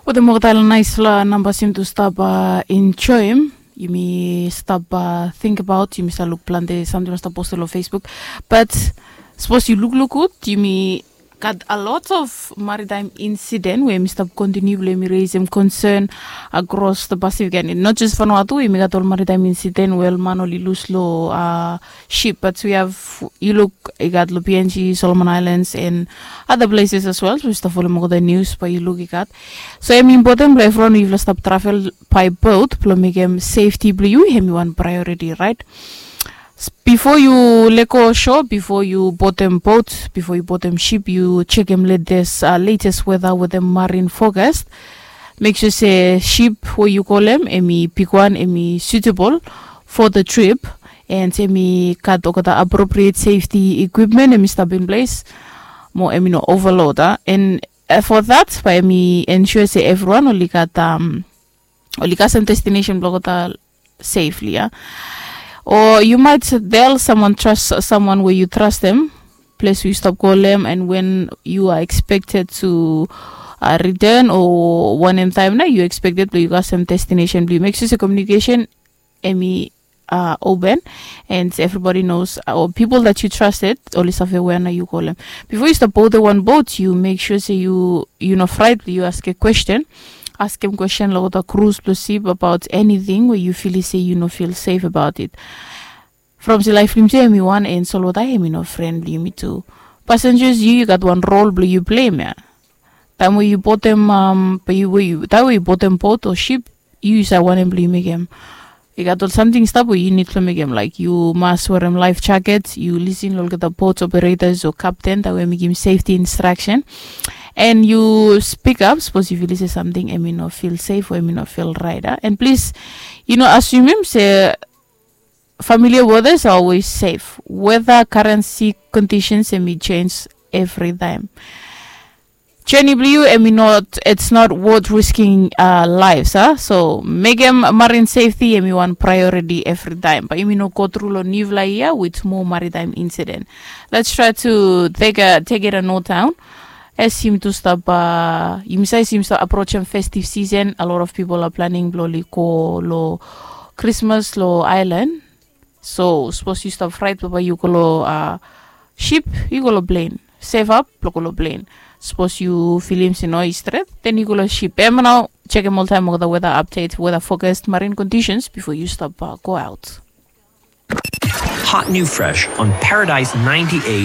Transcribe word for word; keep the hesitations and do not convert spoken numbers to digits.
Wetem olgeta naispela nambas yumi tu stap enjoim, yumi stap tingbaot, yumi stap luk plante samting stap posted long Facebook. Bat sapos yu lukluk gud, yumi gat a lot of maritime incident we yumi stap kontiniu blong yumi reisim concern across the Pacific and not just Vanuatu. Yumi gat ol maritime incident we ol man oli lus long ship, but we have, yu luk, i gat long PNG, Solomon Islands and other places as well. So yu stap folem olgeta news, bae yu luk i gat. So em important blong evriwan, yufala stap travel by boat blong mekem safety blong yu em i wan priority, right? Bifo yu lego shore, bifo yu botem boat, bifo yu botem ship, yu jekem latest, uh, latest weather wetem marine forecast. Make sure se ship we yu kolem em i bigwan, em i suitable for the trip, and em i gat olgeta appropriate safety equipment, em i stap in place, mo em i no overload, a. And uh, for that, bae em i ensure se evriwan oli gat, um, oli kasem destination blong olgeta safely, a. O yu might tell someone, trust someone we yu trastem, ples we yu stap kolem, and when you are expected to uh, return, o wanem taem nao yu expected blong yu kasem destination blong yu. Make sure se communication em i uh, open, and everybody knows, uh, or people that you trusted, oli save wea nao yu kolem. Bifo yu stap botem wan boat, yu make sure se yu, yu no fraet blong yu askem question. Askem question long olgeta crews blong ship about anything we yu feel se yu no feel safe about it. From se laef blong yumi tu em i wan, and solwota em i no fren blong yumi tu. Passengers, yu, yu gat wan role blong yu pleim ia. Taem we yu botem, um, bae yu, we yu, taem we yu botem boat o ship, yu, yu save wanem blong yu mekem. I gat ol samting stap we yu nid blong mekem, laek yu mas werem life jacket, yu lisin long olgeta boat operators o captain taem we mekem safety instruction, and yu speak up sapos yu feel se samting em i no feel safe o em i no feel right, a. And please, yu no asumem se familiar waters are always safe. Weather, currency, conditions em i change evri taem. Journey blong yu em i not, it's not worth risking uh, lives, a. So mekem marine safety em i wan priority evri taem, bae yumi no go tru long niufala yia with more maritime incident. Let's try to take a, take it a note down. As yumi tu stap, uh, yumi save se yumi stap approachem festive season, a lot of people are planning blong oli go long Christmas long island. So sapos yu stap fraet blong bae yu go long uh, ship, yu go long plane. Save up blong go long plane. Sapos yu filim se no i stret, then yu go long ship. Em nao jekem oltaem olgeta weather update, weather forecast, marine conditions bifo yu stap uh, go out. Hot new fresh on Paradise ninety-eight